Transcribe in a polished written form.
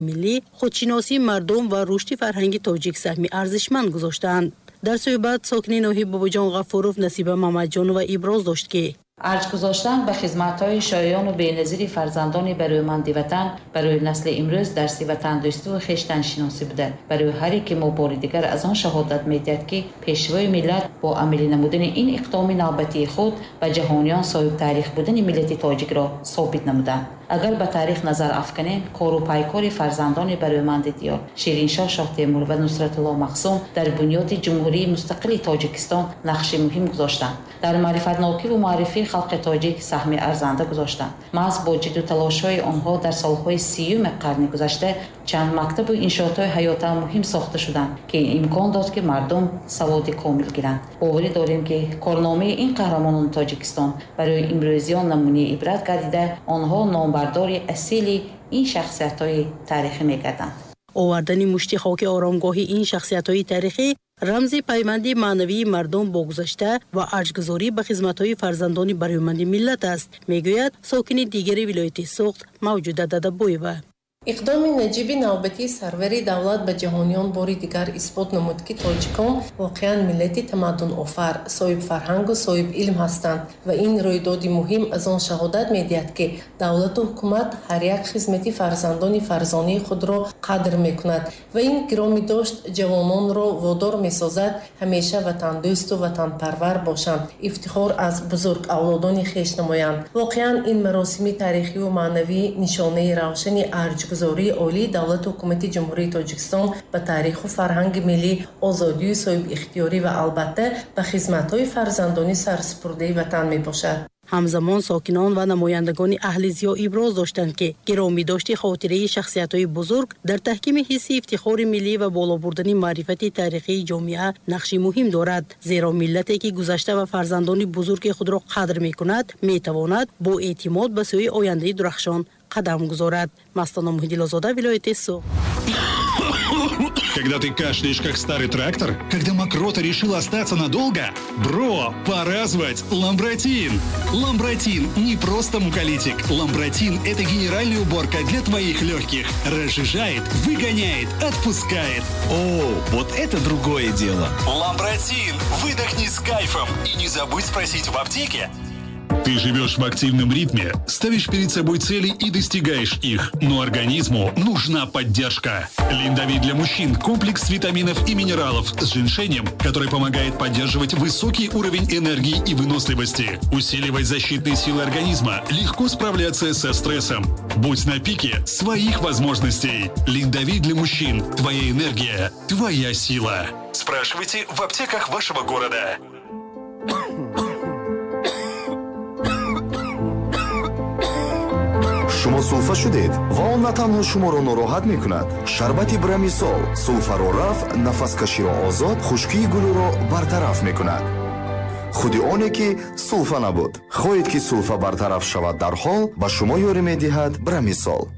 Миллӣ, худшиносии мардум ва рушди фарҳанги тоҷик саҳми арзишманд гузоштаанд. Дар суҳбат сокини ноҳияи Бобоҷон Ғафуров Насиба Мамаҷонова иброз дошт, ки арҷ гузоштан ба хизматҳои шоёну беназири фарзандони барӯманди ватан барои насли имрӯз дарси ватандӯстиву хештаншиносӣ буда, барои ҳар яке мо бори дигар аз он шаҳодат медиҳад, ки Пешвои миллат бо амалӣ намудани ин иқдоми навбатии худ ба ҷаҳониён соҳибтаърих будани миллати тоҷикро собит намуданд. Агар ба таърих назар афканем, кору пайкори фарзандони барӯманди диёр Шириншоҳ Шоҳтемур ва Нусратулло Махсум дар бунёди Ҷумҳурии мустақили Тоҷикистон нақши муҳим гузоштанд, дар маърифатнокиву муаррифии халқи тоҷик саҳми арзанда гузоштанд. Маҳз бо ҷидду талошҳои онҳо дар солҳои 30-уми қарни гузашта чанд мактабу иншоотҳои ҳаётан муҳим сохта шуданд, ки имкон дод, ки мардум саводи комил гиранд. Боварӣ дорем, ки корномаи ин қаҳрамонони Тоҷикистон барои имрӯзиён намунаи ибрат гардида, онҳо номбардори асили ин шахсиятҳои таърихӣ мегарданд. Овардани мушти хоки оромгоҳи ин шахсиятҳои таърихӣ рамзи пайванди маънавии мардум бо гузашта ва арҷгузорӣ ба хизматҳои фарзандони барӯманди миллат аст, мегӯяд сокини дигари вилояти Суғд Мавҷуда Дадабоева. Иқдоми наҷиби навбатии сарвари давлат ба ҷаҳониён бори дигар исбот намуд, ки тоҷикон воқеан миллати тамаддунофар, соҳибфарҳангу соҳибилм ҳастанд, ва ин рӯйдоди муҳим аз он шаҳодат медиҳад, ки давлату ҳукумат ҳар як хизмати фарзандони фарзонии худро қадр мекунад ва ин гиромӣ дошт ҷавононро водор месозад ҳамеша ватандӯсту ватанпарвар бошанд, ифтихор аз бузург авлодони хеш намоянд. Воқеан, ин маросими таърихиву маънавӣ нишонаи равшани арҷгузории олии давлату ҳукумати Ҷумҳурии Тоҷикистон ба таъриху фарҳанги миллӣ, озодию соҳибихтиёрӣ ва, албатта, ба хизматҳои фарзандони сарсупурдаи ватан мебошад. Ҳамзамон сокинон ва намояндагони аҳли зиё иброз доштанд, ки гиромӣ дошти хотираи шахсиятҳои бузург дар таҳкими ҳисси ифтихори миллӣ ва боло бурдани маърифати таърихии ҷомеа нақши муҳим дорад, зеро миллате, ки гузашта ва фарзандони бузурги худро қадр мекунад, метавонад бо эътимод ба сӯи ояндаи дурахшон қадам гузорад. Мастона Муҳиддилозода, вилояти Суғд. Когда ты кашляешь, как старый трактор? Когда мокрота решила остаться надолго? Бро, пора звать Ламбратин! Ламбратин не просто муколитик. Ламбратин – это генеральная уборка для твоих легких. Разжижает, выгоняет, отпускает. О, вот это другое дело. Ламбратин! Выдохни с кайфом. И не забудь спросить в аптеке. Ты живешь в активном ритме, ставишь перед собой цели и достигаешь их. Но организму нужна поддержка. Линдовит для мужчин – комплекс витаминов и минералов с женьшенем, который помогает поддерживать высокий уровень энергии и выносливости, усиливать защитные силы организма, легко справляться со стрессом. Будь на пике своих возможностей. Линдовит для мужчин – твоя энергия, твоя сила. Спрашивайте в аптеках вашего города. Шумо сулфа шудед ва он на танҳо шуморо нороҳат мекунад. Шарбати Брамисол сулфаро рафт, нафаскаширо озод, хушкии гулӯро бартараф мекунад. Худи оне ки сулфа набуд. Хоҳед, ки сулфа бартараф шавад дарҳол, ба шумо ёрӣ медиҳад Брамисол.